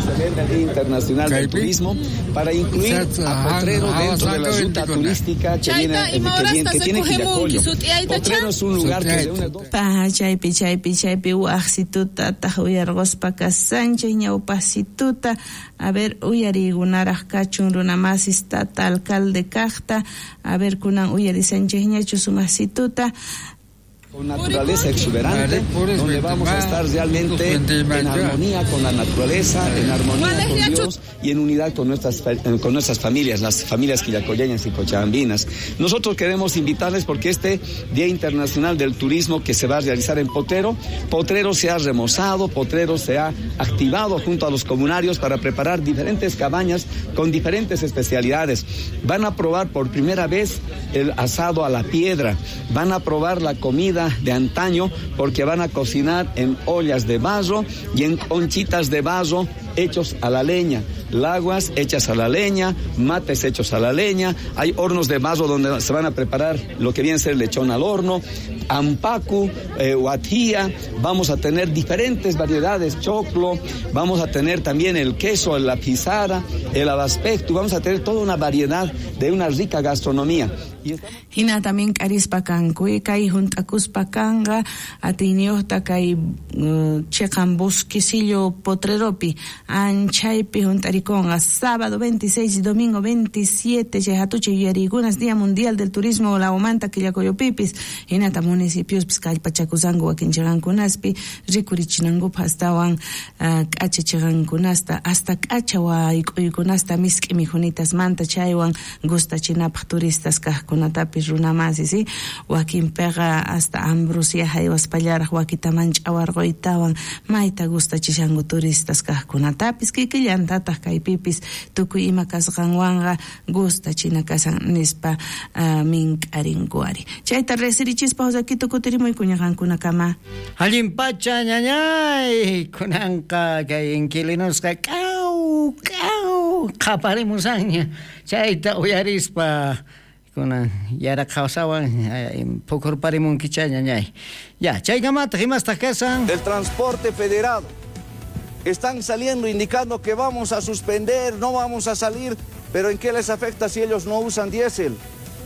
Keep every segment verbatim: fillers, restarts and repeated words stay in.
Celebra el Día Internacional del Turismo para incluir a Potrero dentro de la ruta turística que viene, que viene, que tiene Quillacollo. Potrero es un lugar que reúne dos... Pa, chaypi, chaypi, chaypi, waqsituta, taq uyarquspa kasanchik, ñawpasituta. A ver, uyarigunaraq kachun runamasis tata alcalde kaqta. A ver, kunan uyarisanchikñachu sumasituta. Con naturaleza exuberante, donde vamos a estar realmente en armonía con la naturaleza, en armonía con Dios y en unidad con nuestras, con nuestras familias, las familias quillacolleñas y cochabambinas. Nosotros queremos invitarles porque este Día Internacional del Turismo que se va a realizar en Potrero, Potrero se ha remozado, Potrero se ha activado junto a los comunarios para preparar diferentes cabañas con diferentes especialidades. Van a probar por primera vez el asado a la piedra, van a probar la comida de antaño porque van a cocinar en ollas de barro y en conchitas de barro hechos a la leña, laguas hechas a la leña, mates hechos a la leña, hay hornos de barro donde se van a preparar lo que viene a ser lechón al horno, ampacu, eh, huatía, vamos a tener diferentes variedades, choclo, vamos a tener también el queso, la pizarra, el abaspectu, vamos a tener toda una variedad de una rica gastronomía. Hina también karispa kanku, kay juntakuspa kanqa, atiyniyuqta kay uh, chiqan bosquecillo Potreropi, anchaypi juntarikunqa, sábado veintiséis y domingo veintisiete, chay hatuchay yuyariykunas Día Mundial del Turismo Lawmanta Quillacollopipis, hinata municipios kallpachakusanku wakin chiqankunaspi, rikurichinankupaq astawan uh, k'acha chiqankunasta, hasta k'acha wayk'uykunasta misk'i mikhunitasmanta chaywan gustachinapaq turistas kaqkunatapis runamasis, ¿sí? Wakinpiqa hasta ambrosia haywaspallaraq wakitaman ch'awarquytawan mayta gustachishanku turistas kaqkunatapis, kikillantataq kaypipis tukuy ima kasqanwanqa gustachina kasan nispa uh, mink'arinku ari. Chayta riqsirichispa Josakito kutirimuyku ñaqankunakama. Allin pacha ñañay, kunanqa kay inquilinosqa k'aw k'aw qhaparimusanña chayta uyarispa kunan yaraqhawsawan pukurparimunkicha ñañay. Ya, chaykamataq imastaq kasan. Del transporte federado están saliendo indicando que vamos a suspender, no vamos a salir, pero ¿en qué les afecta si ellos no usan diésel?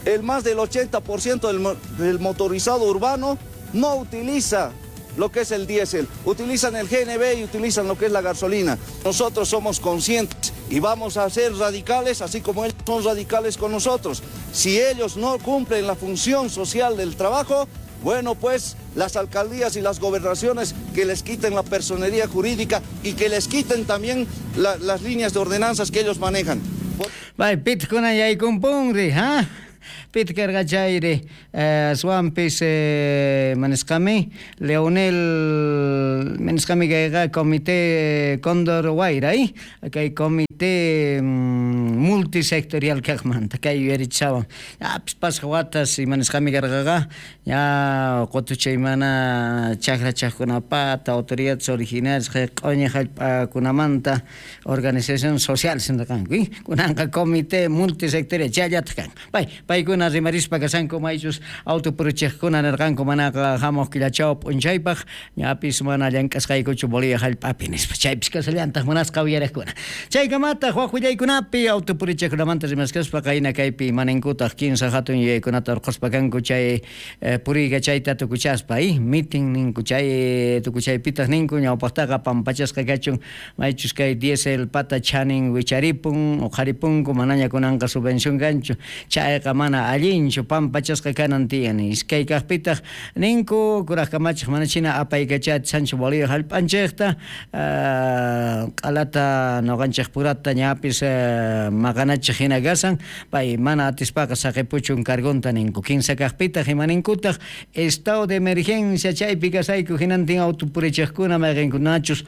El más del ochenta por ciento del, del motorizado urbano no utiliza lo que es el diésel, utilizan el G N B y utilizan lo que es la gasolina. Nosotros somos conscientes y vamos a ser radicales, así como ellos son radicales con nosotros. Si ellos no cumplen la función social del trabajo, bueno, pues las alcaldías y las gobernaciones que les quiten la personería jurídica y que les quiten también la, las líneas de ordenanzas que ellos manejan. Bay, pitkuna yaykumpunri, ¿ah? Pitkarqa chayri aswanpis manisqami Leonel manisqami kayqa comité Cóndor Wayra kay comité multisectorial kaqmanta kay yuyarichawan apis pasqa watas imanisqami karqaqa ya qutuchay mana chakra chaqkunapata autoridades originarias q'uñi hallp'akunamanta organización social sinraqanku kunanqa comité multisectorial chayllataq kan pay paykuna rimarispa kasanku maychus autopuruchiqkuna nirqanku manaqa hamuq killachaw p'unchaypaq ñapis mana llank'asqaykuchu Bolivia hallp'api nispa chaypis kasallantaq munasqa uyariqkuna chaykamataq wak willaykunapi autopurichiqkunamanta rimaskaspa qayna kaypi imaninkutaq kinsa hatun yuyaykunata urquspa kanku chay puriyqa chayta tukuchaspa mitin ninku chay tukuchaypitaq ninku ñawpaqtaqa pampachasqa kachun maychus kay diésel pata chanin wicharipun uqharipunku manaña kunanqa subvención kanchu chayqa mana allinchu pampachasqa kanan tiyan iskay kaqpitaq ninku kuraq kamachiq manachina apaykachati Sancho Bolivia hallp'anchikta q'alata nuqanchik purata ñapis maqanachiq hina kasan pay mana atispaqa saqipuchun cargonta ninku kinsa kaqpitaq imaninkutaq estado de emergencia chaypi kasayku hinantin autopurichiqkuna mayqinkunachus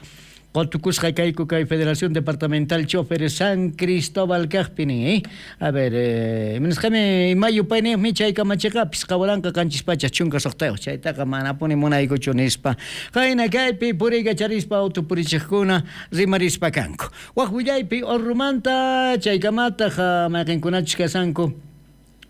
qotukusqa kayku kay Federación Departamental Choferes San Cristóbal kaqpi nin eh? A ver, eh, manisqami mayo payniqmi chay kamachiqapis qawalanqa qanchis pacha chunka suqtayuq chaytaqa manapuni munaykuchu nispa qayna kaypi puriykacharispa autopurichiqkuna rimarispa kanku wak willaypi Orrumanta chaykamataq mayqinkunachus kasanku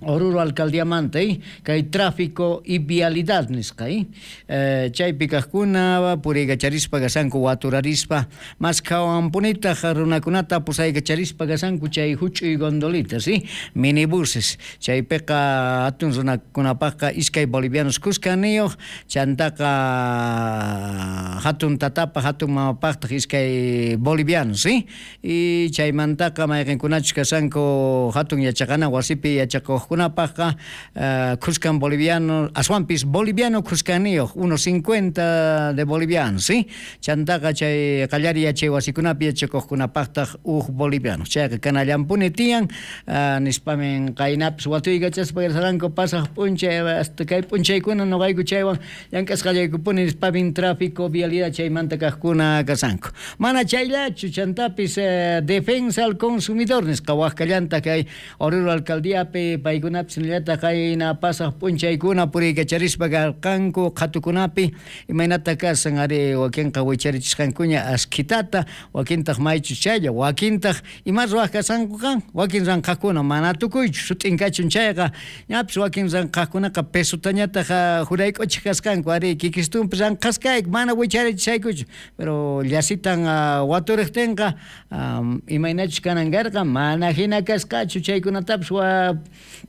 Oruro alcaldiamanta eh? Kay tráfico y vialidad nisqa eh? Eh, chaypi kaqkuna puriykacharispa kasanku waturarispa maskhawanpunitaq runakunata pusaykacharispa kasanku chay huch'uy gondolitas eh? Minibuses chaypiqa hatun runakunapaqqa iskay bolivianos kuskaniyuq chantaqa hatun tatapa hatun mamapaqtaq iskay bolivianos eh? Y chaymantaqa mayqinkunachus kasanku hatun yachaqana wasipi yachakuq kunapaqqa uh, Cuscan boliviano, aswanpis boliviano cuscaniyuq, unos cincuenta de bolivianos, ¿sí? Chantaqa chay qallari yachay wasikunapi yachakuqkunapaqtaq uj boliviano. Chayqa kanallampuni tiyan, uh, nispamin qaynapis watuykachaspa karsaranku pasaq p'unchay hasta kay p'unchaykuna nuqayku chaywan llank'asqallaykupuni nispamin tráfico vialidad chaymanta kaqkuna kasanku. Mana chayllachu chantapis uh, defensa al consumidor nisqa waqkallanta kay Oruro alcaldiapi paykunapis nillataq qayna pasaq p'unchaykuna puriykacharispa karqanku qhatukunapi imaynata kasan ari wakinqa wicharichisqankuña askhitata wakintaq maychus chaylla wakintaq ima ruwaq kasankuqa wakin ranqaqkuna mana tukuychu sut'inkachun chayqa ñapis wakin ranqaqkunaqa pesotañataq jurayk'uchik kasqanku ari kikistunpi ranqaskayku mana wicharichisaykuchu pero llasitan waturiqtinqa imaynachus kanan karqa mana hina kasqachu chaykunatapis wa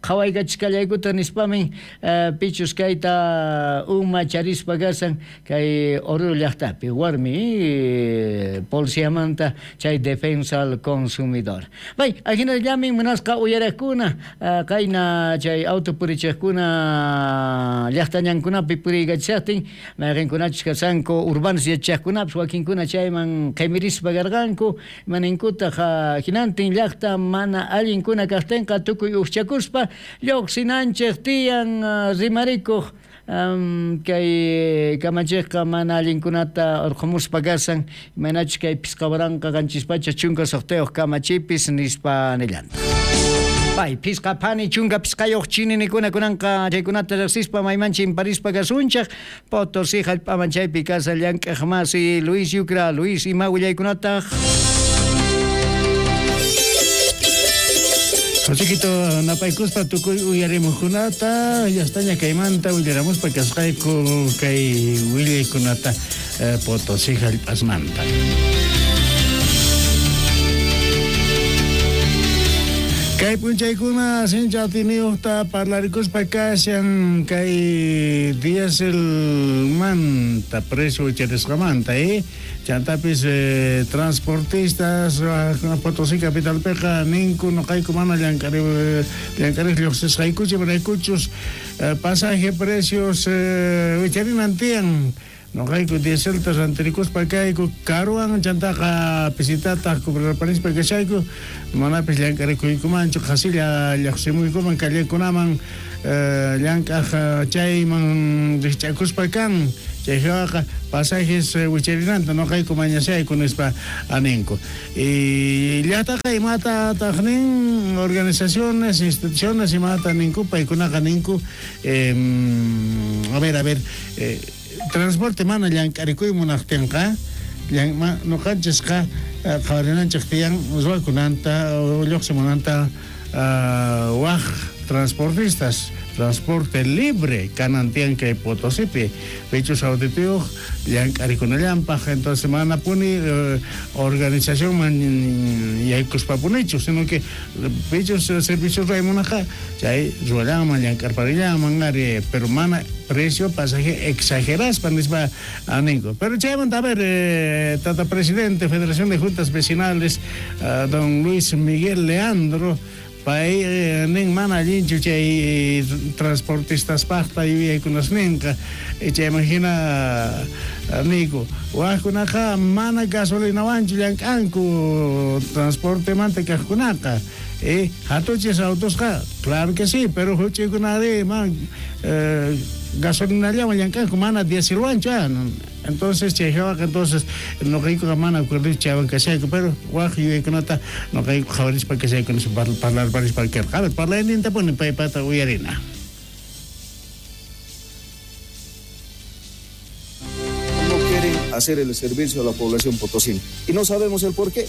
qhawaykachisqallaykuta nispamin uh, pichus kayta uma charispa kasan kay Oruro llaqtapi warmi eh, policiamanta chay defensa al consumidor. Bay, ajinallamin munasqa uyaraqkuna uh, qayna chay auto purichiqkuna llaqtañankunapi puriykachishaqtin mayqinkunachus kasanku urbanos yachaqkunapis wakinkuna chayman qimirispa karqanku imaninkutaq uh, hinantin llaqta mana allinkuna kaqtinqa tukuy uqchakuspa lluqsinanchik tiyan uh, rimarikuq um, kay kamachiqqa mana allinkunata urqumuspa kasan imaynachus kay pisqa waranqa qanchis pacha chunka suqtayuq kamachipis nispa nillanta. Pay, pisqa phani chunka pisqayuq chininikuna kunanqa chaykunata riqsispa mayman chimparispa kasunchaq Potosí hallp'aman chaypi kasa llank'aq masi Luis Yucra. Luis, ima willaykunataq? Chiquito napaykuspa tukuy uyarimuqkunata llastaña kaymanta willaramuspa kasqayku kay willaykunata eh, Potosí hallp'asmanta. Kay p'unchaykuna sincha atiniyuqta parlarikuspa kashan kay dieselmanta precio wicharisqamanta eh chantapis eh, transportistas Potosí capitalpiqa ninku nuqayku mana llank'ari llank'ariq lluqsisqaykuchu imaraykuchus eh, pasaje precios eh, wicharinan tiyan nuqayku dieselta rantirikuspa kayku karuwan chantaqa pisitataq cobrarparispa kashayku manapis llank'arikuykumanchu qhasilla lluqsimuykuman callekunaman eh, llank'aq chayman rikch'akuspa kan chayqa pasajes wicharinanta nuqayku mañashayku nispa aninku y llaqtaqa imatataq nin organizaciones instituciones imata ninku paykunaqa ninku eh, a ver a ver eh, transporte mana llank'arikuy munaqtinqa nuqanchisqa qhawarinanchik tiyan ruwakunanta lluqsimunanta waq transportistas transporte libre kanan tiyan kay Potosipi pichus auditiyuq llank'arikunallanpaq entonces mana puni eh, organizacionman yaykuspapunichu sino que pichus servicios ruwaymunaqa chay ruwallanman llank'arparillaman ari pero mana precio pasaje exageraspa nispa aninku pero chaymanta a ver eh, tata presidente Federación de Juntas Vecinales uh, don Luis Miguel Leandro pay eh, nin mana allinchu chay transportistaspaqta yuyaykunasninqa chayman hina niyku waqkunaqa mana gasolinawanchu llank'anku transportemanta kaqkunaqa eh hatuchis autosqa claro que sí pero huch'uykunari man eh, gasolinallawan llank'anku mana dieselwanchu entonces chayhawaqa entonces nuqaykuqa mana acuerdo chaywan kashayku pero waq yuyaykunata nuqayku qhawarispa kashayku nispa parlarparispa karqa a ver parlayninta puni paypata uyarina. No quieren hacer el servicio a la población potosina y no sabemos el por qué.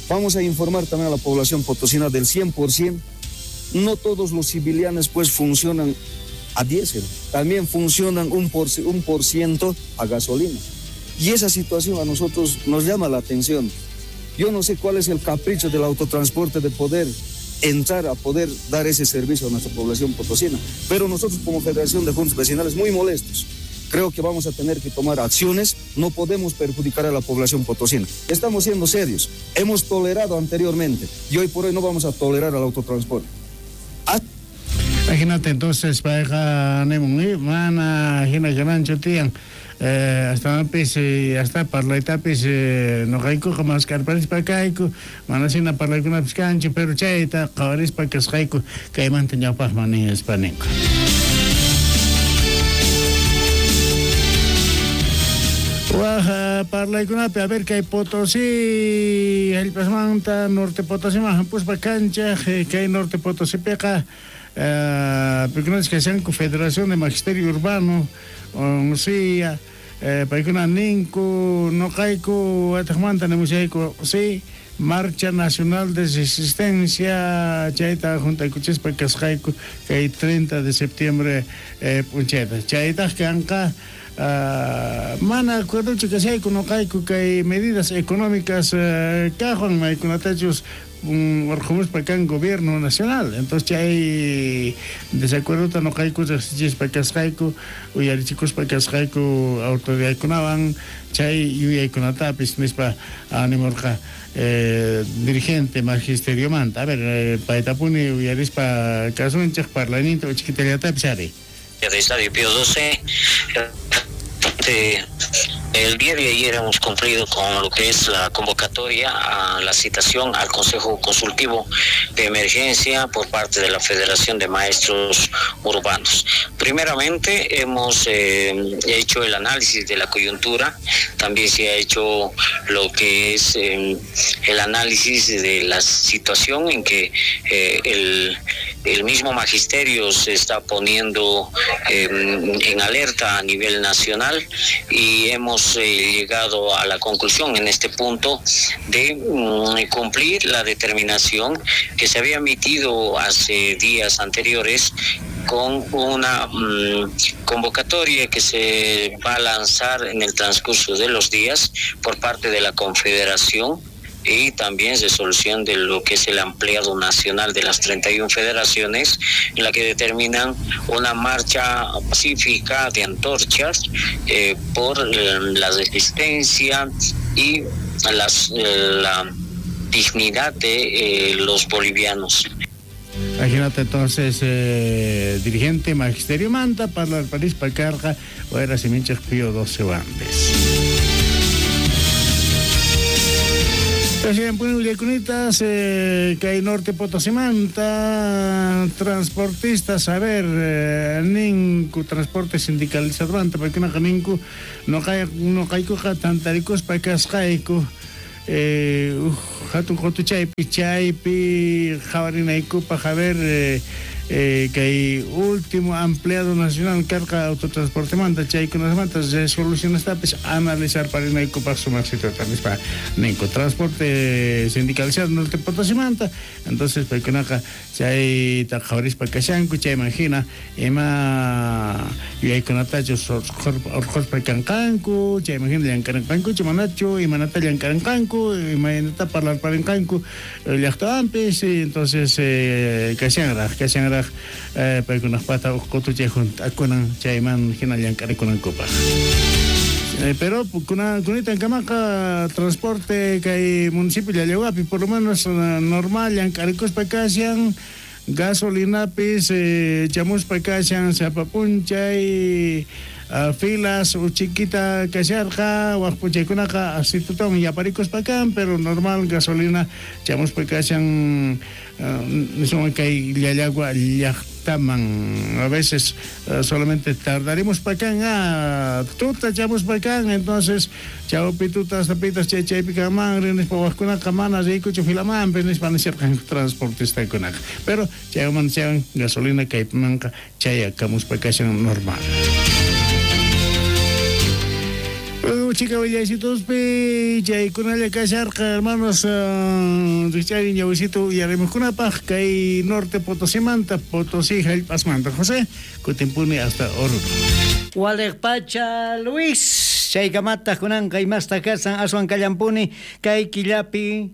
Vamos a informar también a la población potosina del cien por ciento No todos los civilianes pues funcionan a diésel, también funcionan un por, un por ciento a gasolina. Y esa situación a nosotros nos llama la atención. Yo no sé cuál es el capricho del autotransporte de poder entrar a poder dar ese servicio a nuestra población potosina, pero nosotros como Federación de Juntas Vecinales muy molestos. Creo que vamos a tener que tomar acciones, no podemos perjudicar a la población potosina. Estamos siendo serios, hemos tolerado anteriormente y hoy por hoy no vamos a tolerar al autotransporte. Imagínate entonces, pareja mana hina ganancho tian. Eh, hasta pis hasta parlaytapis noqaykuqa maskarparispa kayku manasina parlaykunapis kanchu pero chayta qhawarispa kasqayku kaymanta ñawpaqman nispa ninku. Waja parlaykunapi a ver kay Potosí hallp'asmanta Norte Potosíman hampuspa kanchaj kay Norte Potosípiqa paykunapas kashanku Federación de Magisterio Urbano onsia paykuna ninku noqayku wataqmanta nimushayku sí Marcha Nacional de Resistencia chayta juntaykuchispa kasqayku kay treinta de septiembre eh, p'unchayta chaytaq kanqa Uh, mana acuerdochu kashayku noqayku kay medidas económicas uh, kajwan maykunatachus urqumuspa kan gobierno nacional. Entonces chay desacuerdota noqayku riqsichispa kasqayku uyarichikuspa kasqayku autoridadkunawan chay yuyaykunatapis nispa animurqa eh, dirigente magisteriomanta. A ver, eh, paytapuni uyarispa kasunchik parlayninta uchikitallatapis ari. De Estadio Pío doce, el día de ayer hemos cumplido con lo que es la convocatoria a la citación al Consejo Consultivo de Emergencia por parte de la Federación de Maestros Urbanos. Primeramente hemos eh, hecho el análisis de la coyuntura, también se ha hecho lo que es eh, el análisis de la situación en que eh, el, el mismo magisterio se está poniendo eh, en alerta a nivel nacional y hemos llegado a la conclusión en este punto de mm, cumplir la determinación que se había emitido hace días anteriores con una mm, convocatoria que se va a lanzar en el transcurso de los días por parte de la Confederación y también resolución de lo que es el ampliado nacional de las treinta y una federaciones, en la que determinan una marcha pacífica de antorchas eh, por eh, la resistencia y las, eh, la dignidad de eh, los bolivianos. Imagínate entonces, eh, dirigente Magisterio Manta, para el París, para Carga, o era Siminchas Pío doce Bandes. Punitas, eh, que hay Norte Potosimanta, transportistas, a ver, eh, ninku transporte sindicalizado, porque no ninku, no hay, no hay coja tantaricos pa cascaico, eh, hatun jotuchaypi, chaypi, jabarinaico, pa jaber, eh, eh, que hay último ampliado nacional carga autotransporte manta chaykunasmanta resoluciones tapis analizar para naico pa sumarsito pa ninco transporte sindicalizado Norte Potosimanta. Entonces paykunaqa chayta qhawarispa kashanku chayman hina ima yuyaykunatachus urquspa kanqanku chayman hina llankaranqankuchu manachu imanata llankaranqanku imaynata parlarparinqanku llaqtawanpis. Entonces eh, kashanraq kashanraq eh, paykunaqpata uqqutuchay junt'akunan chayman hina llank'arikunankupaq. Eh, pero kunitan kamaqa transporte kay municipio Llallahuapi por lo menos normal llank'arikuspa kashan gasolinapis eh, chamuspa kashan sapapunchay uh, filas uchiquita kasharqa waqpuchaykunaqa asitutawan yaparikuspa kan pero normal gasolina chamuspa kashan uh, kay Llallagua llaqtaman a veces uh, solamente tardaremos pa kan ah, tuta chamuspa kan entonces chawpi tuta hasta pitas chay chaypi kaman rinispa waqkunaqa mana riykuchu filamanpis nispa nisharqanku transportistakunaqa pero chayman chayan gasolina kaypimanqa chayakamuspa kashan normal. Uchika willaysituspi chaykunalla kasharqa hermanos rikchari ñawisito uyarimuqkunapaq kay norte Potosimanta Potosí hallp'asmanta. José, kutimpuni hasta Oruro. Waliqpacha Luis, chaykamataq kunanqa imasta kasan aswan kallampuni kay killapi.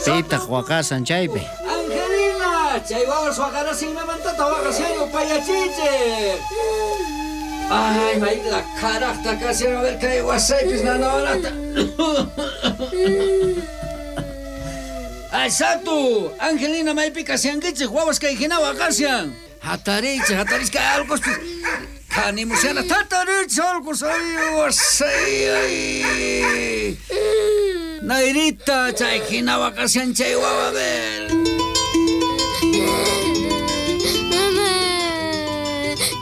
Pitaq waqasan chaypi. Angelina, chay wawas waqarasin imamantata waqashan upayachichik. Ay, mayta karaqta kashan, a ver kay wasaypis nanawanata. Ay, Santu, Angelina maypi kashankichik, wawas kay hina waqashan. Hatarichik, hatarichik, kay allquspis kanimushana, hatarichik allqus, ay, wasay, ay. Nairita, chay hina waqashan chay wawa, a ver. Mamá,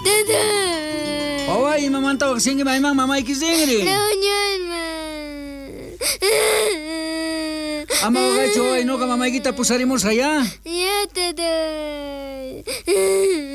tata. Wawa, imamanta waqashanki mayman mamayki rinri. Reunionman. Ama waqaychu waway, nuqa mamaykita pusarimusqa ya. Ya, tata.